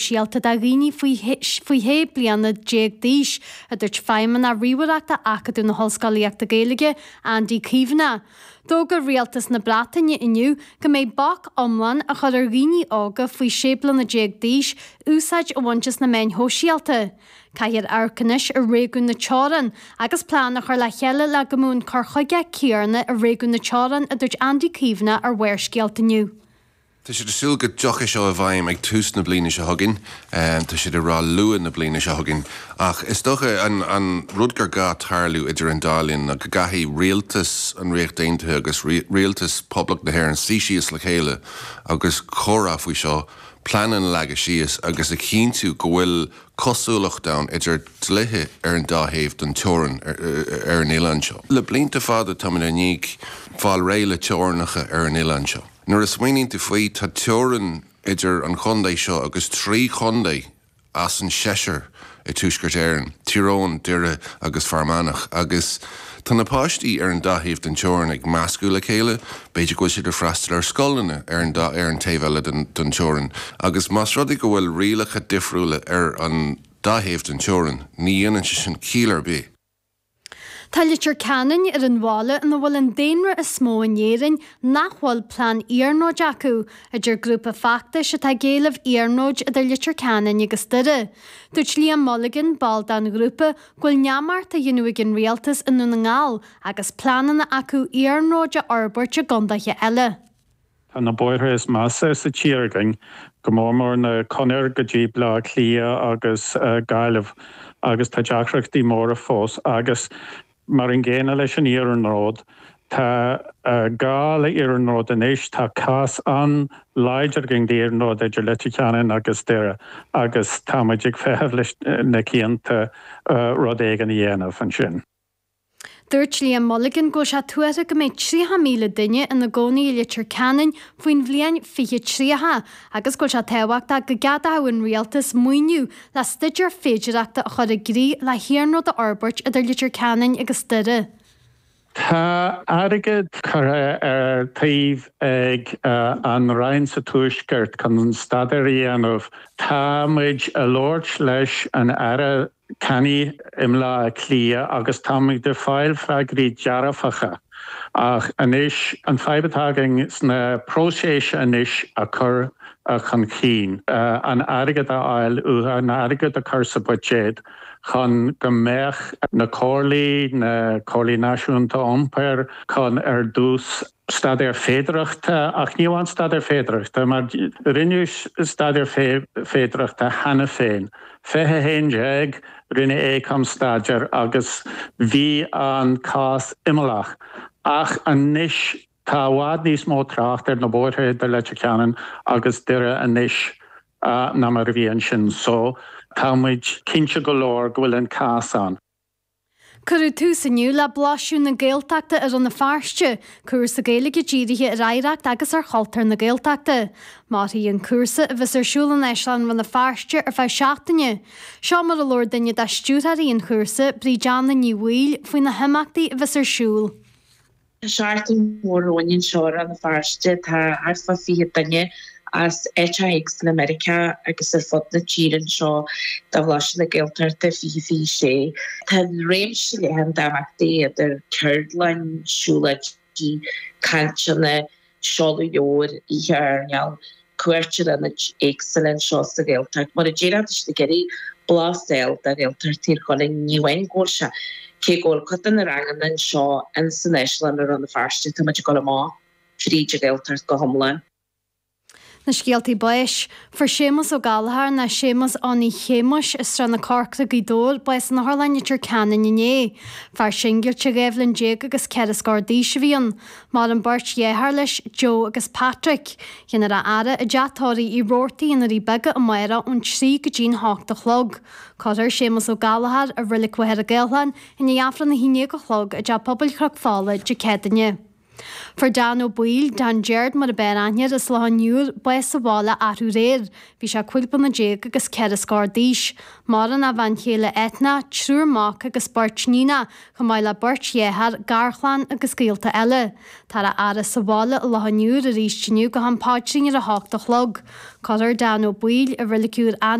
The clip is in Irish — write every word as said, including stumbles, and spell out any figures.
shóisialta do dhaoine faoi faoi shé bliana déag d'aois, a dúirt Feidhmeannach Ríomhaireachta Acadamh na hOllscolaíochta Gaeilge, Andy Caomhánach. D'fhógair Rialtas na Breataine inniu go mbeidh bac iomlán á chur ar dhaoine óga faoi sé bliana déag d'aois úsáid a bhaint as na meáin shóisialta. Caithfear amharc anois ar réigiún na teorann agus plean a chur le chéile le go mbeadh an cur chuige céanna i réigiún na teorann, a dúirt Andy Caomhánach ar Bharrscéalta inniu. Tá siad ag súil go dtiocfaidh seo i bhfeidhm ag tús na bliana seo chugainn, tá siad ag rá luath na bliana seo chugainn, ach is dócha an, an rud gur gá tarlú idir an dá linn ná go gcaithfidh rialtas an Ríocht Aontaithe agus rialtas Poblacht na hÉireann suí síos le chéile agus comhrá faoi seo, pleananna a leagadh síos agus a chinntiú go bhfuil cosúlacht ann idir dlíthe ar an dá thaobh den teorainn ar, ar an oileán seo. Le blianta fada táimid i ndiaidh fáil réidh le teorainneacha ar an oileán seo. Nuair a smaoiníonn tú faoi tá teorainn idir an chontae seo agus trí chontae as an seisear i Tuaisceart Éireann, Tír Eoghain, Doire agus Fear Manach, agus tá na páistí ar an dá thaobh den teorainn ag meascadh le chéile, b'fhéidir go bhfuil siad ag freastal ar scoileanna ar an dá ar an taobh eile den, den teorainn, agus más rud é go bhfuil rialacha difriúla ar an dá thaobh den teorainn, ní dhéanann sé sin ciall ar bith. Tá Leitir Ceanainn ar an bhaile ina bhfuil an daonra is mó in Éirinn nach bhfuil plean iarnróid acu, a deir grúpa feachtais atá ag éileamh iarnróid idir Leitir Ceanainn agus Doire. Dúirt Liam Mulligan, ball den ghrúpa, go bhfuil neamart á dhéanamh ag an rialtas i nDún na nGall agus pleananna acu iarnróid a fhorbairt i gcontaetha eile. Tá na bóithre is measa sa tír againn, go mór mór na conair go dtí Baile Átha Cliath agus Gaillimh agus tá deacrachtaí móra fós agus mar an gcéanna leis an iarnród, tá gá le iarnród anois, tá cás an-láidir againn d'iarnród idir Leitir Ceanainn agus Doire agus tá muid ag feitheamh leis na cianta rud éigin a dhéanamh ansin. Dúirt Liam Mulligan go bhfuil sé tuartha go mbeidh tríocha míle duine ina gcónaí i Leitir Ceanainn faoin bhliain fiche tríocha agus go bhfuil sé tábhachtach go gceadódh an rialtas maoiniú le staidéar féidearthachta a chur i gcrích le hiarnród a fhorbairt idir Leitir Ceanainn agus Doire. Tá airgead curtha ar taobh ag an Roinn sa Tuaisceart chun staidéar a dhéanamh. Tá muid ag labhairt leis an Aire Kenny i mBaile Átha Cliath agus táimid ag fáil freagraí dearfacha. Ach anois an fadhb atá againn sna próiseas anois a chur chun cinn, an airgead a fháil uathu, an airgead a chur sa bhuiséad chun go mbeadh na comhairlí, na comhairlí náisiúnta iompair chun ar dtús staidéar féidearthachta, ach ní amháin staidéar féidearthachta, mar rinneadh staidéar féidearthachta cheana féin. fiche a haon déag rinne Aecom staidéar agus bhí an cás imeallach. Ach anois tá i bhfad níos mó trácht ar na bóithre idir Leitir Ceanainn agus Doire anois ná mar a bhí ansin. So tá muid cinnte go leor go bhfuil an cás ann. Cuireadh tús inniu le Blaiseadh na Gaeltachta i Rann na Feirste, cúrsa Gaeilge dírithe ar oidhreacht agus ar chultúr na Gaeltachta. Mairfidh an cúrsa, a bheas ar siúl in Áislann Rann na Feirste ar feadh seachtaine. Seo mar a labhair duine de stiúrthóirí an chúrsa, Bríd Anna Ní Bhaoill, faoi na himeachtaí a bheas ar siúl. Tá seachtain mhór romhainn anseo i Rann na Feirste. Tá thart fá fiche duine as áiteacha éagsúla i Meiriceá agus ar fud na tíre anseo do Bhlaiseadh na Gaeltachta fiche fiche sé. Tá réimse leathan d'imeachtaí idir ceardlann, siúlóidí, cainteanna, seoladh leabhair, oíche airneáil, cuairt ar ionaid éagsúla anseo sa Ghaeltacht. Mar a déarfá, tá siad ag iarraidh blas a fháil de Ghaeltacht Thír Chonaill, ní amháin go bhfuil sé, cé go bhfuil cuid de na ranganna anseo in san Áislann i Rann na Feirste, tá muid ag dul amach fríd an Ghaeltacht go hiomlán. Na scéaltaí báis. Fuair Séamus Ó Gallchóir nó Séamus Fhionnaidh Shéamuis as Srath na Corcra, Gaoth Dobhair, bás in Otharlann Leitir Ceanainn inné. Fear singilte dhá bhliain déag agus ceithre scór d'aois a bhí ann. Maireann beirt dheartháir leis, Joe agus Patrick. Déanfar a fhaire i dteach tórraimh Uí Robhartaigh i nDoirí Beaga amárach ón trí go dtí'n hocht a chlog. Cuirfear Séamus Ó Gallchóir i Reilig Mhachaire Gathlán i ndiaidh Aifreann a haon déag a chlog i dTeach Pobail Chnoc Fola Dé Céadaoine. Fuair Dan Ó Baoill, Dan Gerard mar ab fhearr aithne air, as Loch an Iúir, bás sa bhaile arú aréir. Bhí sé cúig bliana déag agus ceithre scór d'aois. Maireann a bhean chéile Eithne, triúr mac agus beirt níonacha, chomh maith le beirt dhearthár, garchlann agus gaolta eile. Táthar á fhaire sa bhaile i Loch an Iúir arís inniu go ham paidrín ar a hocht a chlog. Cuirfear Dan Ó Baoill i Reilig Iúr